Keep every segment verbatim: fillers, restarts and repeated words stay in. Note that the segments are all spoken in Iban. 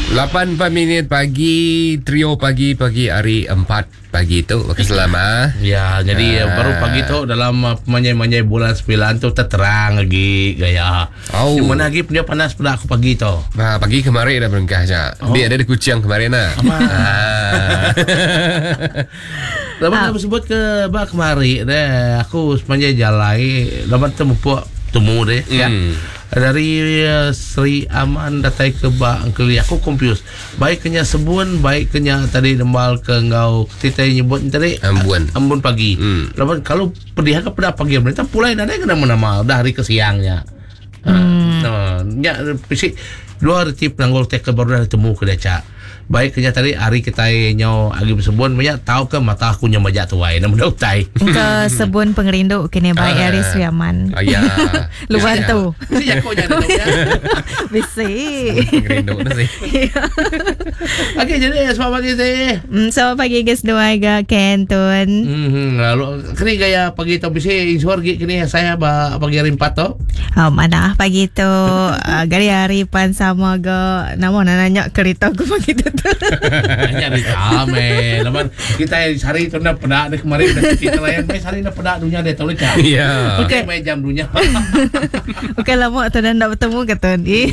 Lapan empat minit pagi, trio pagi pagi hari empat pagi tu. Okey, selamat. Ya, jadi uh, baru pagi tu dalam uh, manjai-manjai bulan sembilan tu terang lagi gaya. Oh. Di mana lagi punya panas pula aku pagi tu. Nah, pagi kemarin dah berengkah je. Oh. Dia ada di Kuching kemarin lah. Ah. Lepas ah. sebut ke bak kemari deh, aku sepanjang jalan lepas temupuk temu deh mm. ya. Dari uh, Sri Aman datai ke bak Engkeli aku confused. Baik kenya sebun, baik kenya tadi dembal ke ngau kita nyebut tadi ambun. Ambun pagi. Mm. Lepas kalau pedih ke pada pagi mereka pulai dah kena nama dah hari ke siangnya. Mm. Uh, ya pisik dua reti penanggul teka baru dah temu ke dia cak. Baik kenya tadi hari kita nyo agi bersebun banyak tahu ke mata aku nyo majak tuai nama dah utai. Ke sebun pengerindu kene baik Ah. hari Sri Aman. Ah, ya. Luar Ya. tu. Bisi jako nya ada ya. Bisi. Pengerindu tu sih. Okey, jadi selamat pagi sih. Hmm, selamat pagi guys dua ga Kentun. Hmm, lalu kini gaya pagi tu bisi insur gi kini saya ba pagi hari empat tu. Oh, mana pagi tu uh, gari hari pan sama ga nama nak nanya kereta aku pagi tu. Hanya di kame. Laman kita sehari tu nak pedak ni kemarin dah kita layan mai sehari nak pedak dunia dia tahu cak. Ya. Okey mai jam dunia. Bukan lama tu dah nak bertemu ke tuan. Eh.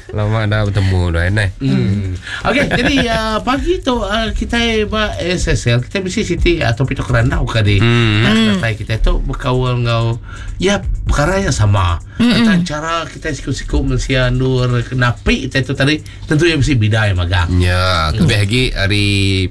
Lama dah bertemu dah eh. Hmm. Okey, jadi uh, pagi tu uh, kita ba S S L kita mesti siti atau pito kerandau kali. Hmm. Hmm. Kita tu berkawal ngau ya perkara yang sama. Tentang cara kita siku-siku mensia nur kenapi kita tu tadi tentu yang mesti bidai magang. Ya, lebih lagi hari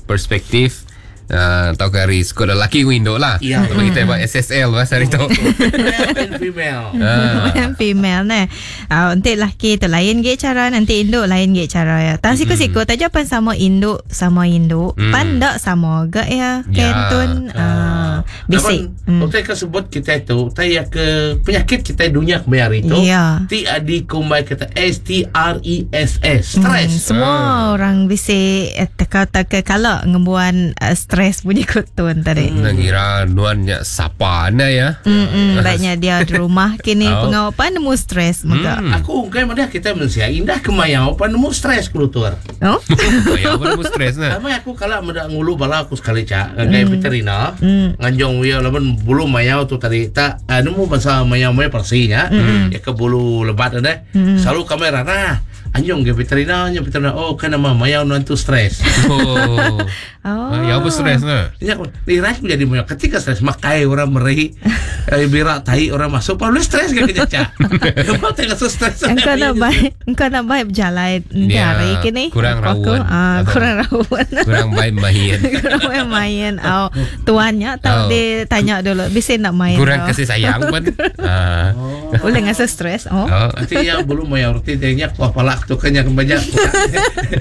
perspektif uh, atau ke hari sekolah lelaki window lah. Ya. Sebab kita buat S S L lah hari tu. Male and female. Ah. Female ne. Ah, nanti laki tu lain ge cara, nanti induk lain ge cara ya. Tang siku-siku taja pan sama induk sama induk, Hmm. pan dak sama ge ya. Ya. Kentun ah bisik. Hmm. Utai ke sebut kita itu, utai ya ke penyakit kita dunia kemarin itu. Ya. T A D kumbai kata S T R E S S, stress. Hmm, semua orang bisik eh, teka-teka kalau ngembuan uh, stres bunyi kutun tadi. Nak kira nuannya sapa anda ya. Hmm, hmm, baiknya dia di rumah kini Oh. pengawapan nemu stres mega. Hmm. Aku ungkai mana kita manusia indah kemayau pan nemu stres kelutur. Oh. Ya, apa nemu stres nah. Sama aku kalau meda ngulu bala aku sekali cak ngagai mm. veterina Mm. nganjong ya laban bulu mayau tu tadi tak uh, nemu pasal mayau mayau persinya mm. ya ke bulu lebat ada mm. selalu kamera nah anjong ke veterina nya veterina oh kan nama mayau nan tu stres. Oh. Oh. Ah, ya apa stres nah. Nya aku lirai aku jadi mayau ketika stres makai orang meri eh, birak tai orang masuk perlu stres ke kerja cak. Kau tengah stres. Engkau nak baik, engkau nak baik berjalan Ya, hari kini. kurang Aku, rawan. ah, Atau- kurang rawan. Kurang baik main. Kurang main main. Oh, tuannya tahu Oh. dia tanya dulu, bisa nak main. Kurang oh. kasih sayang pun. Ah. Boleh ngasa stres. Oh. Oh. Nanti yang belum mayau roti dia nya kuah palak tu kan yang banyak.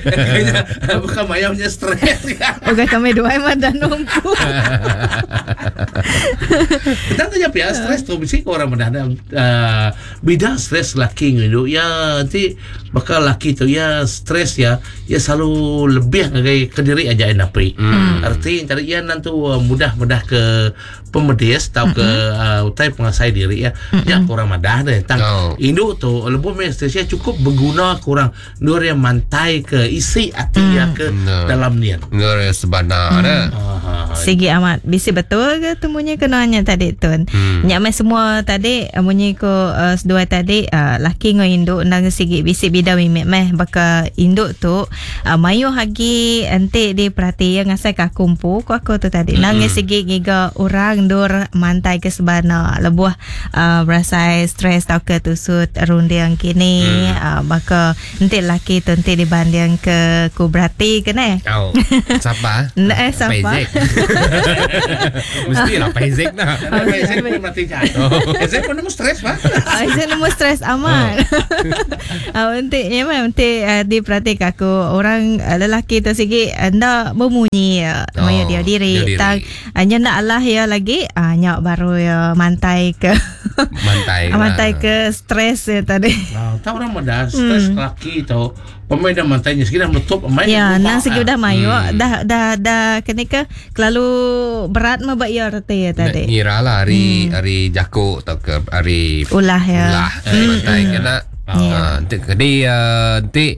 Kayaknya bukan mayaunya stres. Oke kami dua emang dan nunggu. Kita tanya pihak stres tu mesti orang mudah uh, bida stres laki ngidu ya nanti bakal laki tu ya stres ya ya selalu lebih ngagai ke diri aja yang napi. Hmm. Arti tadi ya nanti uh, mudah-mudah ke pemedis atau ke uh, utai pengasai diri ya. Ya kurang madah deh tentang Oh. induk tu lebuh meh stresnya cukup berguna kurang nur yang mantai ke isi hati ya ke No. dalam niat. Nur sebenar dah. Ah, Sigi amat. Bisi betul ke tu munyi kenanya tadi tun. Hmm. Nyak mai semua tadi eh, munyi ko uh, sedua tadi uh, laki ngau induk nang sigi bisi bida mimik meh baka induk tu uh, mayu hagi ente di perhati yang ngasai ka kumpu ko aku tu tadi. Nang Hmm. sigi ngiga orang dur mantai ke sebana lebuh uh, berasai stres tau ke tusut runding kini Hmm. uh, baka ente laki tu ente dibanding ke ku berarti ke ne. Oh. Siapa? Nak eh, siapa? Paizek. Mestilah Paizek nah. Karena Ezek pun mati cak. Ezek pun nemu stres pak. Ah, saya nemu stres amat. Ah, untuk ya memang untuk uh, diperhatikan aku orang uh, lelaki tu sigi anda bemunyi uh, Oh, oh, dia diri dia diri. tang hanya nak Allah ya lagi ah nyak baru ya mantai ke Mantai. Lah. Mantai ke stres ya tadi. Ah, tahu orang muda stres hmm. laki tu pemain dah mantainya sekira meletup pemain. Ya, nang segi udah mayu hmm. dah dah dah kena ke kelalu berat mah bak ya reti ya tadi. Ngira lah hari hmm. hari jako atau ke hari ulah ya. Ulah hmm. mantai kena. Ah, nanti kedi nanti.